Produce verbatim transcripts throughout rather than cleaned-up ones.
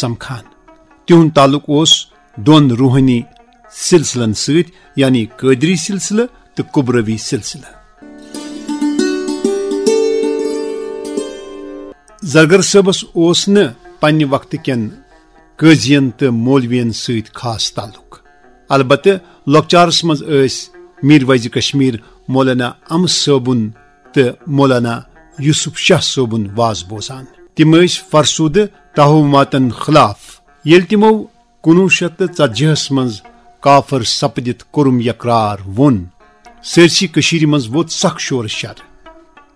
سمکھان۔ تِہُنٛد تعلق اوس دۄن روحٲنی سلسلن سۭتۍ، یعنی قٲدری سلسلہٕ تہٕ کبروی سلسلہٕ۔ زرگر صٲبس اوس نہٕ پننہِ وقتہٕ کٮ۪ن قٲضین تہٕ مولوین سۭتۍ خاص تعلق۔ البتہٕ لۄکچارس منٛز ٲسۍ میر ویض کشمیر، مولانا ام صٲبُن تہٕ مولانا یوسف شاہ صٲبُن واز بوزان۔ تِم ٲسۍ فرسودٕ توہماتن خلاف۔ ییٚلہِ تِمو کُنوُہ شیٚتھ تہٕ ژتجی ہس منٛز کافر سپدِتھ کوٚرُم یقرار ووٚن، سٲرسٕے کٔشیٖرِ منٛز ووٚتھ سخ شور شر۔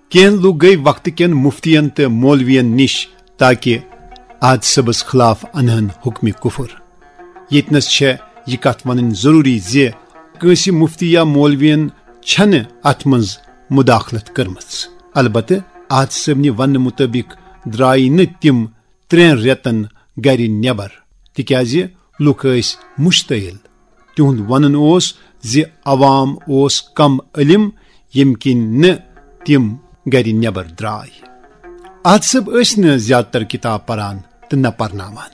کینٛہہ لوٗکھ گٔے وقتہٕ کٮ۪ن مفتین تہٕ مولوین نِش تاکہ احد صٲبس خلاف انہن حکمِ کفر۔ ییٚتنس چھےٚ یہِ کتھ ونٕنۍ ضروٗری زِ کٲنٛسہِ مفتی یا مولوین چھنہٕ اتھ منٛز مداخلت کٔرمٕژ۔ البتہٕ احد صٲبنہِ وننہٕ مُطٲبق درٛایہِ نہٕ تِم ترٛٮ۪ن رٮ۪تن گرِ نٮ۪بر، تِکیازِ لوٗکھ ٲسۍ مشتعل۔ تِہُنٛد ونُن اوس زِ عوام اوس کم علم، ییٚمہِ کِنۍ نہٕ تِم گرِ نٮ۪بر درٛاے۔ احد صٲب ٲسۍ نہٕ زیادٕ تر کتاب پران تہٕ نہ پرناوان۔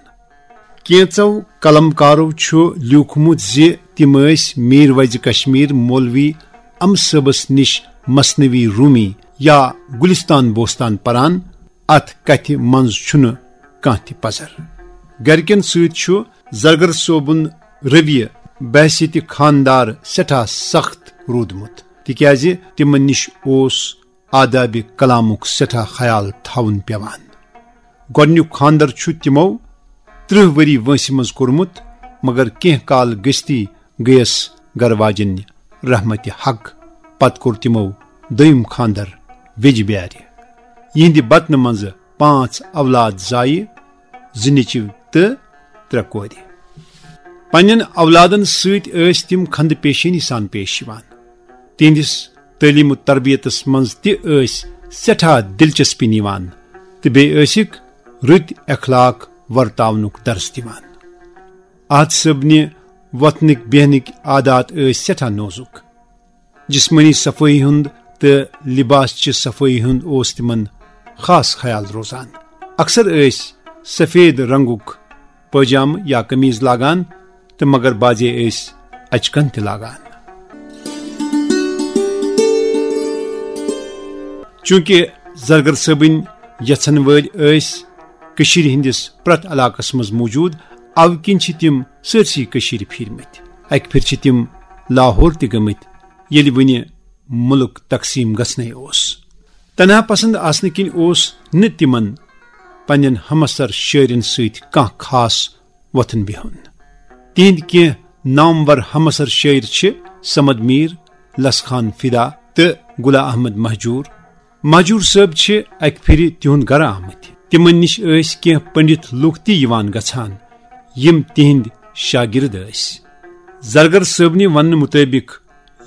کینٛژو قلمکارو چھُ لیوٗکھمُت زِ تِم ٲسۍ میر ویض کشمیر مولوی ام صٲبس نِش مثنوی رومی یا گلستان بوستان پران۔ اتھ کتھِ منٛز چھُنہٕ کانٛہہ تہِ پزر۔ گرِکٮ۪ن سۭتۍ چھُ زرگر صٲبُن رویہ بحیثیت خاندار سٮ۪ٹھاہ سخت روٗدمُت، تِکیازِ تِمن نِش اوس آدابِ کلامُک سٮ۪ٹھاہ خیال تھاوُن پٮ۪وان۔ گۄڈٕنیُک خاندر چھُ تِمو ترٕٛہ ؤری وٲنٛسہِ منٛز کوٚرمُت، مگر کینٛہہ کال گٔژھتٕے گٔیَس گرٕ واجٮ۪ن رحمتِ حق۔ پتہٕ کوٚر تِمو دوٚیِم خاندر ویجہِ بیارِ۔ یِہنٛدِ بطنہٕ منٛزٕ پانٛژھ اولاد زایہِ، زٕ نیٚچِو تہٕ ترٛےٚ کورِ۔ پننٮ۪ن اولادن سۭتۍ ٲسۍ تِم خندٕ پیشٲنی سان پیش یِوان۔ تِہنٛدِس تعلیٖم و تربیتس منٛز تہِ ٲسۍ سٮ۪ٹھاہ دلچسپی نِوان تہٕ بیٚیہِ ٲسِکھ رٕتۍ اخلاق ورتاونُک درس دِوان۔ احد صٲبنہِ وۄتھنٕکۍ بیہنٕکۍ عادات ٲسۍ سٮ۪ٹھاہ نوزُک۔ جسمٲنی صفٲیی ہُنٛد تہٕ لباس چہِ صفٲیی ہُنٛد اوس تِمن خاص خیال روزان۔ اکثر ٲسۍ سفید رنگُک پٲجامہٕ یا قمیٖض لاگان تہٕ مگر بعضے ٲسۍ اچکن تہِ لاگان۔ چونکہ زرگر صٲبٕنۍ یژھن وٲلۍ ٲسۍ کٔشیٖرِ ہٕنٛدِس پرٛٮ۪تھ علاقس منٛز موجود، اَوٕ کِنۍ چھِ تِم سٲرسٕے کٔشیٖرِ پھیٖرمٕتۍ۔ اکہِ پھِرِ چھِ تِم لاہور تہِ گٔمٕتۍ، ییٚلہِ وُنہِ مُلک تقسیٖم گژھنَے اوس۔ تنہا پسند آسنہٕ کِنۍ اوس نہٕ تِمن پننٮ۪ن ہمسر شٲعرن سۭتۍ کانٛہہ خاص وۄتھُن بِہُن۔ تِہنٛدۍ کینٛہہ نامور ہمسر شٲعر چھِ صمد میر، لس خان فدا تہٕ غلام احمد مہجور۔ مہجور صٲب چھِ اکہِ پھِرِ تِہُنٛد گرٕ آمٕتۍ۔ تِمن نِش ٲسۍ کینٛہہ پنڈت لوٗکھ تہِ یِوان گژھان، یِم تِہنٛدۍ شاگرد ٲسۍ۔ زرگر صٲبنہِ وننہٕ مُطٲبق،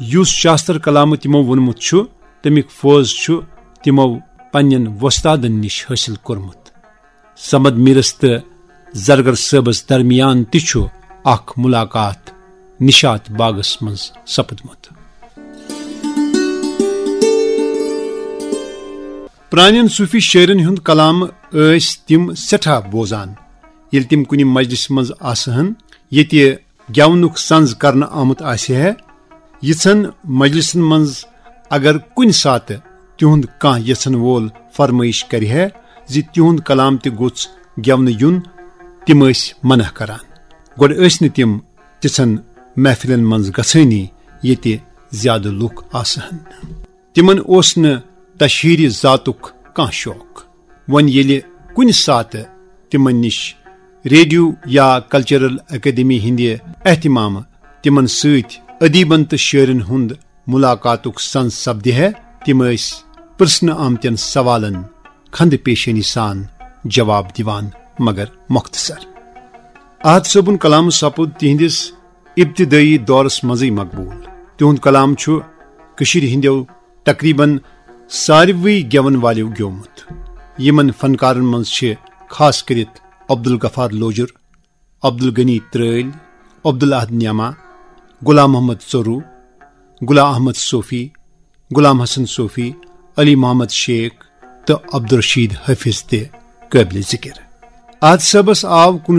یُس شاستر کلامہٕ تِمو ووٚنمُت چھُ، تمیُک فوز چھُ تِمو پننٮ۪ن وۄستادن نِش حٲصِل کوٚرمُت۔ صمد میرس تہٕ زرگر صٲبس درمیان تہِ چھُ اکھ ملاقات نشاط باغس منٛز سپدمُت۔ پرانٮ۪ن صوفی شٲعرن ہُنٛد کلام ٲسۍ تِم سٮ۪ٹھاہ بوزان۔ ییٚلہِ تِم کُنہِ مجلسہِ منٛز آسہٕ ہن، ییٚتہِ گٮ۪ونُک سنز کرنہٕ آمُت آسہِ ہے، یِژھن مجلسن منٛز اگر کُنہِ ساتہٕ تِہُنٛد کانٛہہ یژھن وول فرمٲیش کرِ ہے زِ تِہُنٛد کلام تہِ گوٚژھ گٮ۪ونہٕ یُن، تِم ٲسۍ منع کران۔ گۄڈٕ ٲسۍ نہٕ تِم تِژھن محفلن منٛز گژھٲنی، ییٚتہِ زیادٕ لوٗکھ آسہٕ ہن۔ تِمن اوس نہٕ تشہیرِ ذاتُک کانٛہہ شوق۔ وۄنۍ ییٚلہِ کُنہِ ساتہٕ تِمن نِش ریڈیو یا کلچرل اکیڈمی ہٕنٛدِ اہتمامہٕ تِمن سۭتۍ ادیبن تہٕ شٲعرن ہُنٛد ملاقاتُک سنز سپدِ ہے، تِم ٲسۍ پرژھنہٕ آمتٮ۪ن سوالن خندٕ پیشٲنی سان جواب دِوان، مگر مختصر۔ احد صٲبُن کلام سپُد تِہنٛدِس ابتدٲئی دورس منٛزٕے مقبوٗل۔ تِہُنٛد کلام چھُ کٔشیٖرِ ہٕنٛدیو تقریباً ساروٕے گٮ۪وَن والٮ۪و گیومُت۔ یِمَن فنکارَن منٛز چھِ خاص کٔرِتھ عبدالغفار لوجُر، عبدالغنی ترٲلۍ، عبدالاحد نیما، غلام محمد ژوٚروٗ، غلام احمد صوفی، غلام حسن صوفی، علی محمد شیخ تہٕ عبدالرشید حافظ تہِ قٲبلِ ذِکِر۔ آد صٲبس آو